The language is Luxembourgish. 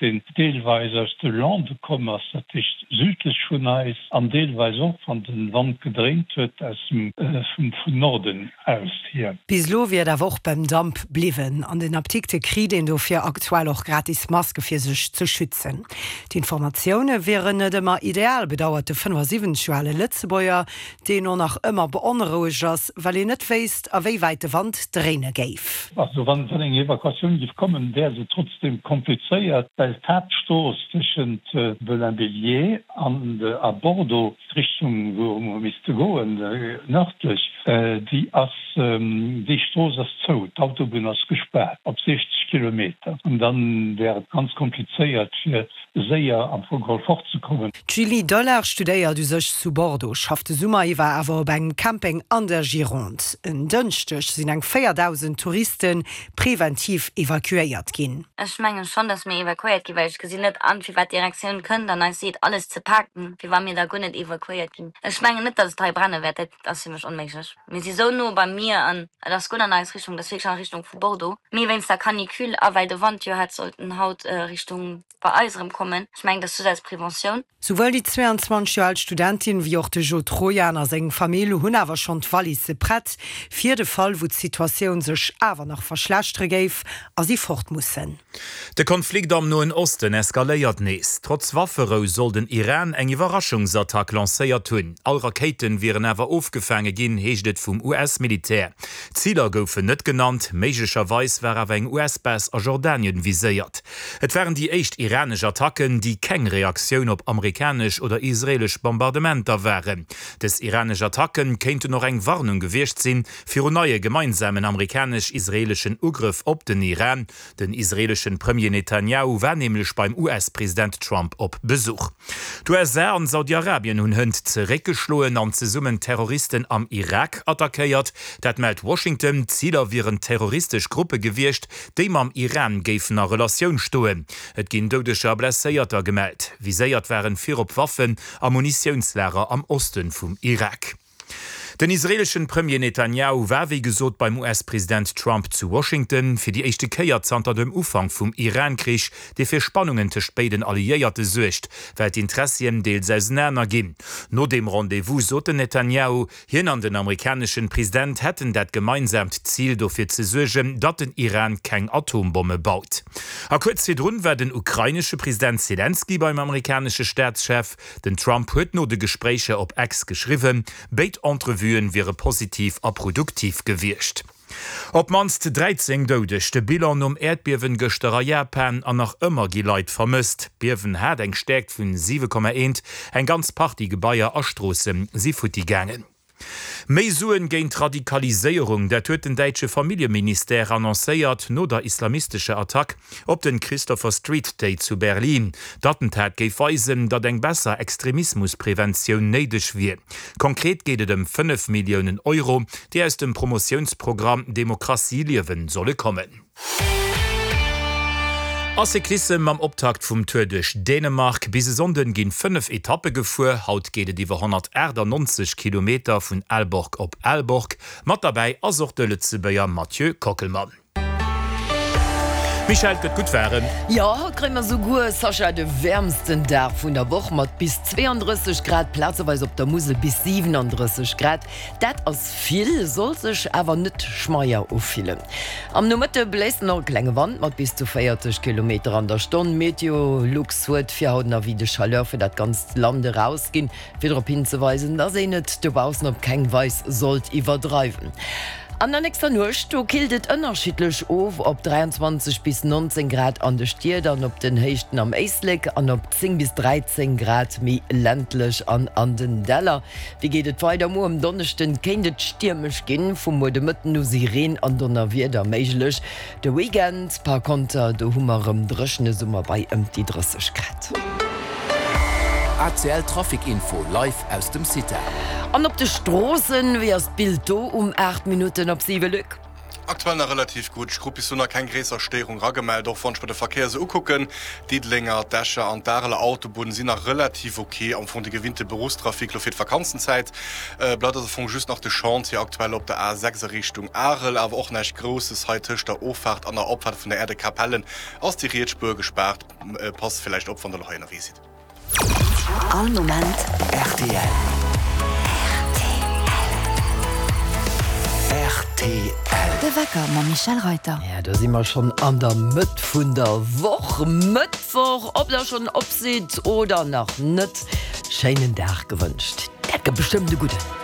Deen deelweis aus de Lande komm ass, dat heescht südlech vun eis, an deelweis och, wann de Wand gedréint huet, aus dem vun Norden aus hier. Bis elo wier et awer och beim Damp bliwwen. An den Apdikte kritt een dofir aktuell och gratis Maske fir sech ze schützen. D'Informatioune wieren net ëmmer ideal, bedauert de 75 Joer ale Lëtzebuerger, deen och nach ëmmer beonrouegt ass, well een net wéisst, a wéi wäit de Wand dréine géif. Also wann eng Evakuatioun géif kommen, wär se trotzdeem komplizéiert, well d'Haaptstrooss tëschent Belin-Béliet an a Bordeaux, d'Richtung wou mer misste goen, nërdlech, déi ass, déi Strooss ass zou, d'Autobunn ass gespaart op 60 Kilometer. An dann wär et ganz komplizéiert fir séier am Fong geholl fortzekommen. D'Julie Dollard studéiert u sech zu Bordeaux, schafft de Summer iwwer awer op engem Camping an der Gironde. En Dënschdeg sinn eng 4.000 Touriste preventiv evakuéiert ginn. Ech mengen schonn, dass mir evakuéiert ginn, well ech gesinn net an, firwat d'Direktioun kënnt an eis seet, alles ze paken, fir wa mir da guer net evakuéiert ginn. Ech mengen net, dass et hei brenne wäert, dat ass fir mech onméiglech. Mir si sou no beim Mier an et ass guer net an eis Richtung, et ass wierklech an Richtung vu Bordeaux. Mee wéinst der Canicule a well de Wand jo hätt sollten haut Richtung bei eis erëm kommen, ech mengen, dat ass just als Preventioun. Souwuel déi 22 Joer al Studentin wéi och de Jo Trojan a seng Famill hunn awer schonn d'Wallisse prett, fir de Fall wou d'Situatioun sech awer nach verschlechtere géif a si fort mussen. De Konflikt am Noen Osten eskaléiert nees. Trotz Wafferou soll den Iran eng Iwwerraschungsattack lancéiert hunn. All Rakéite wieren awer ofgefaange ginn, heescht et vum US-Militär. Ziler goufen net genannt, méiglecherweis war awer eng US-Base a Jordanien viséiert. Et waren déi éischt iranesch Attacken, déi keng Reaktioun op amerikanesch oder israeelesch Bombardementer waren. Dës iranesch Attacken kéinten och eng Warnung gewiescht sinn, virun neie gemeinsamen amerikanesch-israeeleschen Ugrëff op den Iran. Den israeeleschen Premier Netanjahu war nämlech beim US-President Trump op Besuch. D'USA an Saudi-Arabien hunn hënt zeréckgeschloen an zesummen Terroristen am Irak attackéiert. Dat mellt Washington. Ziler wieren terroristesch Gruppe gewiescht, déi mam Iran géifen a Relatioun stoen. Et ginn Doudeger a Blesséierter gemellt. Viséiert waren virop Waffen a Munitiounslager am Oste vum Irak. Den israeeleschen Premier Netanjahu war wéi gesot beim US-President Trump zu Washington, fir déi éischte Kéier zanter dem Ufank vum Iran-Krich, dee fir Spannungen tëscht béiden Alliéierte suergt, well d'Interessien deels ausenaner ginn. No deem Rendez-vous sot den Netanjahu, hien an den amerikaneschen President hätten dat gemeinsaamt Zil, dofir ze suergen, datt den Iran keng Atombomme baut. A kuerz virdrun war den ukrainesche President Selenskyj beim amerikanesche Staatschef. Den Trump huet no de Gespréicher op X geschriwwen, béid Entrevuen wiere positiv a produktiv gewiescht. Op d'mannst 13 Doudeg, de Bilan nom Äerdbiewen gëschter a Japan an nach ëmmer gi Leit vermësst. D'Biewen hat eng Stäerkt vun 7,1, eng ganz Partie Gebaier a Stroosse si futti gaangen. Méi Suen géint d'Radikaliséierung, dat huet den däitsche Familljeministère annoncéiert no der islamistescher Attack op den Christopher Street Day zu Berlin. D'Attentat géif weisen, datt eng besser Extremismuspreventioun néideg wier. Konkret geet et ëm 5 Milliounen Euro, déi aus dem Promotiounsprogramm Demokratie liewen solle kommen. A Cyclissem mam Optakt vum Tour duerch Dänemark. Bis e Sonnden ginn 5 Etappe gefuer. Haut geet et iwwer 198 Kilometer vun Aalborg op Aalborg. Mat derbäi ass och de Lëtzebuerger Mathieu Kockelmann. Michèle, et gëtt gutt waarem. Jo, haut kréie mer souguer, Sascha, de wäermsten Dag vun der Woch mat bis 32 Grad, plazeweis op der Musel bis 37 Grad. Dat ass vill, soll sech awer net schmeier ufillen. Am Nomëtte bléist nach e klenge Wand mat bis zu 40 Kilometer an der Stonn. Meteolux huet fir haut en Avis de chaleur fir dat ganzt Land erausginn, fir drop hinzeweisen, dass een et dobaussen op keng Weis sollt iwwerdreiwen. An der nächster Nuecht, do killt et ënnerschiddlech of op 23 bis 19 Grad an de Stied an op den Héichten am Éislek an op 10 bis 13 Grad méi ländlech an an den Däller. Wéi geet et weider? Muer um Donneschden kéint et stiermesch ginn, vum Muer de Mëtten u si Reen an Donnerwieder méiglech. De Weekend par konter, do hu mer erëm dréchene Summer bei ëm déi 30 Grad. ACL Trafic Info live aus dem CITA. An op de Stroossen, wéi ass d'Bild do um 8 Minutten op 7, Luc? Aktuell nach relativ gutt. Ech krut bis elo nach keng gréisser Stéierung eragemellt. Och wann ech mer de Verkéier esou ukucken, d'Diddelenger, d'Escher an d'Areler Autobunn sinn nach relativ ok. Am Fong de gewinnte Beruffstrafic elo fir d'Vakanzenzäit. Bleift also am Fong just nach de Chantier aktuell op der A6 a Richtung Arel. Awer och näischt Grousses hei tëscht der Offaart an der Opfaart vun der Aire de Capellen ass déi riets Spuer gespaart. Passt villäicht op, wann der elo hei ënnerwee sidd. All Moment rtl. Rtl. De Wecker mam Michèle Reyter. Ja, do si mer schonn an der Mëtt vun der Woch. Mëttwoch, ob der schonn op sidd oder nach net, schéinen Dag gewënscht. Dat gëtt bestëmmt e gudden.